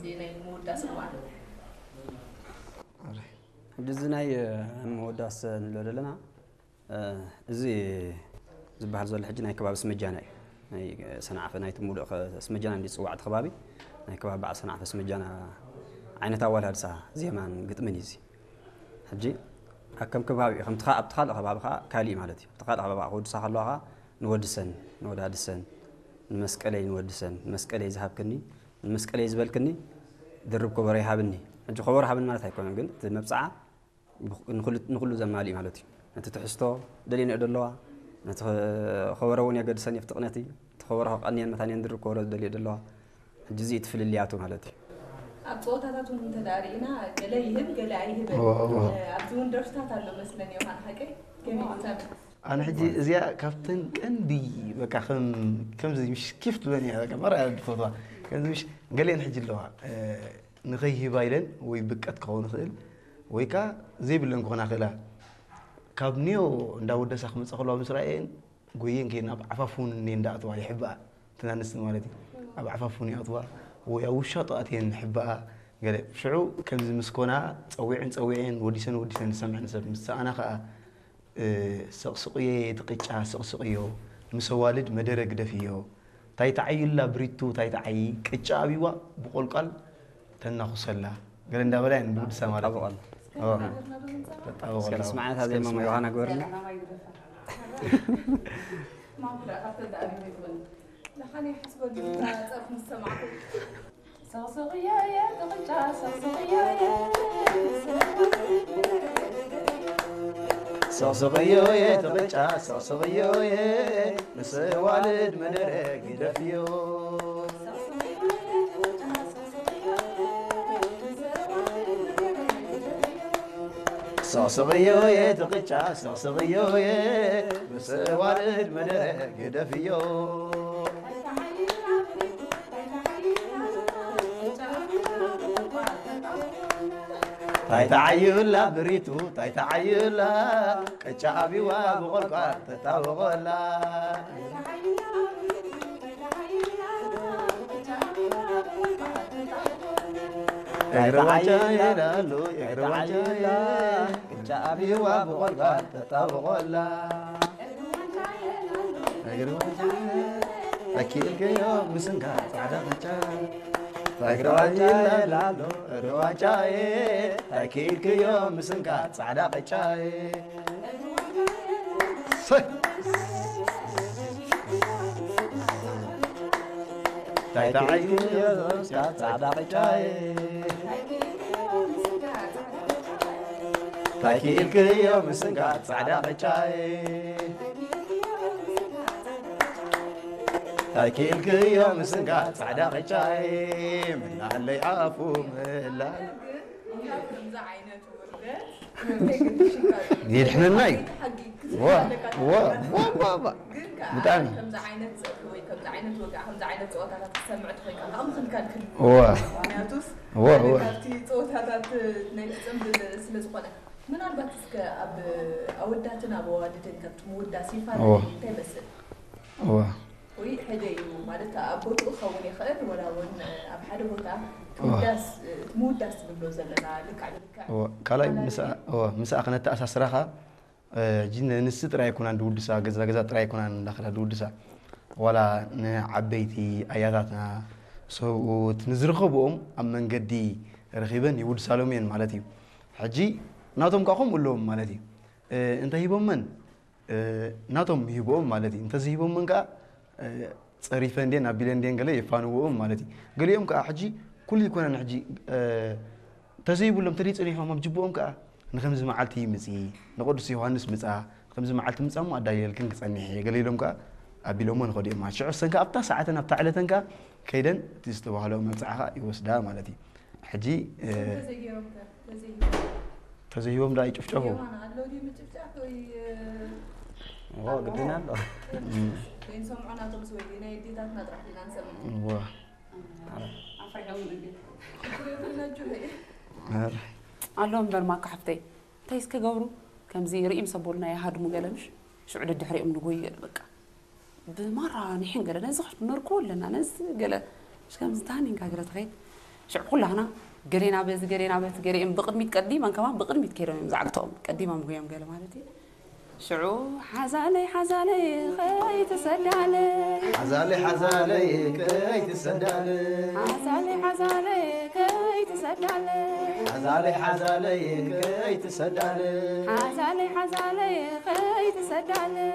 እዚ ናይ ምውዳስ እዋን። ሕጂ እዚ ናይ መወዳስ ንብሎ ዘለና እዚ ዝበሃል ዘሎ ሕጂ ናይ ከባቢ ስመጃና እዩ። ናይ ሰንዓፈ ናይቲ ሙሉእ ከ-፣ ስመጃና እንዲ ዝፅዋዕ እቲ ከባቢ ናይ ከባቢ በዓል ሰንዓፈ ስመጃና ዓይነት ኣወዳድሳ ዜማን ግጥምን እዩ እዚ። ሕጂ ኣብ ከም ከባቢ ከምቲ ከ-፣ ኣብቲ ካልእ ከባቢ ከዓ ካሊእ ማለት እዩ። ኣብቲ ካልእ ከባቢ ክወድሳ ከለዋ ከዓ ንወድሰን ንወዳድሰን ንመስቀለይ ንወድሰን ንመስቀለይ ዝሃብክኒ ንመስቀለይ ዝበልክኒ ድርብ ከበሮ ይሃብኒ። ሕጂ ከበሮ ሃብኒ ማለት ኣይኮነን፣ ግን እቲ መብፅዓ ብኽ-፣ ንኹሉ፣ ንኹሉ ዘማልእ ማለት እዩ። ነቲ ትሕዝቶ ደልየንኦ ደለዋ፣ ነቲ ከበሮ እውን የገድሰን የፍትቕነቲ፣ እቲ ከበሮ ከቐንየን መታንየን ድርብ ከበሮ ዝደልዮ ደለዋ። ሕጂ እዚ እቲ ፍልልያቱ ማለት እዩ። ኣብ ፀወታታት እውን እንተ ደኣ ርኢና፣ ገለ ይህብ፣ ገለ ኣይህብን። እዎ፣ እዎ። እ፣ ኣብዚ እውን ደርፍታት ኣሎ መስለኒ፣ ዮሃን፣ ሓቀይ? ከመይ እዩ? ኣነ ሕጂ እዚኣ ካብተን ቀንዲ፣ በቃ፣ ከም፣ ከምዚ ምሽ ኪፍ ትብለኒ እያ፣ በቃ፣ መራ እያ ዝፈትዋ። ከምዚ ምሽ ገሊአን ሕጂ ኣለዋ፣ እ፣ ንኸይህባ ኢለን ወይ ብቀት ክኸውን ይኽእል፣ ወይ ከኣ ዘይብለን ክኾና ይኽእላ። ካብ ኒዮ እንዳ ወደሳ ክመጻ ከለዋ ምስ ረኣየን፣ ጎየን ከይደን ኣብ ዓፋፉን እኔ እንዳኣተዋ ይሕብኣ፣ እተን ኣንስቲ ማለት እዩ። ኣብ ዓፋፉን ይኣትዋ፣ ወይ ኣብ ውሻጦ ኣትየን ይሕብኣ። ገለ ሽዑ ከምዚ ምስ ኮና፣ ጸዊዐን ጸዊዐን፣ ወዲሰን ወዲሰን ዝሰምዐን ሰብ ምስ ሰኣና ከኣ፣ እ፣ ሰቕስቕዮ እቲ ቅጫ፣ ሰቕስቕዮ፣ ምስ ኣዋልድ መደረ ግደፍዮ። ታይ ተዓይላ ብሪቱ፣ ታይ ተዓይ፣ ቅጫ ኣብይዋ ብቆልቋል ተናኹሰላ። ገለ እንዳበላ እየን ብውድሳ ማለት እዩ። ተጣብቐላ። ኦ፣ ተጣብቐላ። እስከ ንስምዓ እታ ዜማ፣ እስከ ንስምዓ። ዮሃና ግበርልና። ማፍራ ካብተን ተኣሪመ ይኾን? ንሓነ ይሓስበሉ፣ እታ ጸርፊ ምስ ሰማዕኩ። ሰቕስቕዮ እየ፣ እቲ ቅጫ ሰቕስቕዮ እየ። ሰቕስቕዮ እየ፣ እቲ ቅጫ ሰቕስቕዮ እየ። ምስ ኣዋልድ መደረ ግደፍዮ። ሰቕስቕዮ እየ፣ እቲ ቅጫ ሰቕስቕዮ እየ። ምስ ኣዋልድ መደረ ግደፍዮ። ታይ ተዓዩላ ብሪቱ፣ ታይ ተዓዩላ፣ ቅጫ ኣብይዋ ብቆልቋል ተጣብቐላ። እግሪ ዋንጫ ይላሉ፣ እግሪ ዋንጫ፣ ቅጫ ኣብይዋ ብቆልቋል ተጣብቐላ። እግሪ ዋንጫ፣ ኣኪልክዮ ምስንካ ጻዕዳ ቅጫ። እግሪ ዋንጫ ይላሉ፣ እግሪ ዋንጫ፣ ኣኪልክዮ ምስንካ ጻዕዳ ቅጫ። ሰይ! ታይ ተዓይዮ ዞስካ ጻዕዳ ቅጫይ። ታይ ክኢልክዮ ምስንካ ጻዕዳ ቅጫይ። ታይ ክኢልክዮ ምስንካ ጻዕዳ ቅጫይ። ምላለይ ኣፉ ምላል። ከምዚ ዓይነት ውርደት የድሕነና እዩ። ዋ፣ ዋ፣ ዋ፣ ዋ፣ ዋ። ግን ከኣ ብጣዕሚ። ከምዚ ዓይነት ጸርፊ ወይ ከምዚ ዓይነት ወግዒ፣ ከምዚ ዓይነት ጸወታታት ክትሰምዕ ተኾይንካ፣ ከኣ ምኽንካን ክህሉ። ዋ። ምኽንያቱስ፣ ዋ፣ ሓደ ዋ። ካብቲ ጸወታታት ናይቲ ጽምብል ስለ ዝኾነ፣ ምናልባት እስከ ኣብ ኣወዳትን ኣብ ኣዋልድን ካብቲ ምውዳስ ይፋለ ዋ። እንታይ ይመስል? ዋ። ወይ ሕደ እዩ ማለት ኣብ ቦትኡ ክኸውን ይኽእል፣ ወላ እውን ኣብ ሓደ ቦታ ዋ። ትውዳስ፣ ምውዳስ ትብሎ ዘለና ልክዕ ንልክዕ እዋ፣ ካልኣይ ካልኣይ ምስኣ፣ እዋ፣ ምስኣ ክነተኣሳስራ ኸኣ፣ እ፣ ሕጂ ንንስ ጥራይ ኣይኮናን ድውድሳ፣ ገዛ ገዛ ጥራይ ኣይኮናን እንዳኸዳ ድውድሳ። ዋላ ንዓበይቲ ኣያታትና፣ ሰብኡት፣ ንዝረኸብኦም ኣብ መንገዲ ረኺበን ይውድሳሎም እየን ማለት እዩ። ሕጂ ናቶም ከኣ ከምኡ ኣለዎም ማለት እዩ። እ፣ እንተሂቦመን፣ እ፣ ናቶም ይህብኦም ማለት እዩ። እንተዘይሂቦመን ከኣ፣ እ፣ ጸሪፈን ድየን ኣቢለን ድየን ገለ የፋንውኦም ማለት እዩ። ገሊኦም ከኣ ሕጂ ኩሉ ኣይኮነን ሕጂ፣ እ፣ ተዘይብሎም ተደይ ጸኒሖም ኣብ ጅብኦም ከኣ ንኸምዚ መዓልቲ ይምጺ፣ ንቅዱስ ዮሃንስ ምጻ፣ ንኸምዚ መዓልቲ ምጻ እሞ ኣዳልየልክን ክጸንሕ እየ፣ ገለ ኢሎም ከኣ ኣቢሎሞ ንኸዱ እዮም ማለት። ሽዑ እሰን ከኣ ኣብታ ሰዓተን ኣብታ ዕለተን ከኣ ከይደን እቲ ዝተባህለኦ መብጽዓ ከኣ ይወስዳ ማለት እዩ። ሕጂ፣ እ፣ እንተዘይገይሮም ከ? እንተዘይሂቦም? እንተዘይሂቦም ደኣ ይጭፍጨፉ። የማን ኣሎ ድዩ ምጭፍጫፍ ወይ፣ እ፣ ዎ፣ ግድን ኣሎ። እም። ወይ ንሰምዖ ናቶምስ ወይ ናይ ኣዴታትና ጥራሕ ኢና ንሰምዕ። ዎ። ኣፍሪሖም እንዴ? ሽግር የብልና ጁሄ። ኣረ። ኣሎ እምበር ማካ ሓፍተይ፣ እንታይ እስከ ገብሩ? ከምዚ ርእዮም ሰቦልና ይሃድሙ ገለ ምሽ? ሽዑ ደድሕሪኦም ንጎይ ገለ በቃ። ብማራ ንሕን ገለ ነዚ ኸሽ ነርክቦ ኣለና፣ ነዚ ገለ። እሽ ከምዚ ታኒንካ ገለ ትኸይድ። ሽዑ ኩላህና ገሌና በዚ ገሌና በቲ ገሌኦም ብቕድሚት ቀዲመን ከማን ብቕድሚት ከይዶም እዮም ዛዕግቶኦም ቀዲሞም እዮም ገለ ማለት እዩ። ሽዑ ሓዛለይ ሓዛለይ ከይትሰዳለይ ሓዛለይ ሓዛለይ ከይትሰዳለይ ሓዛለይ ሓዛለይ ከይትሰዳለይ ሓዛለይ ሓዛለይ ከይትሰዳለይ ሓዛለይ ሓዛለይ ከይትሰዳለይ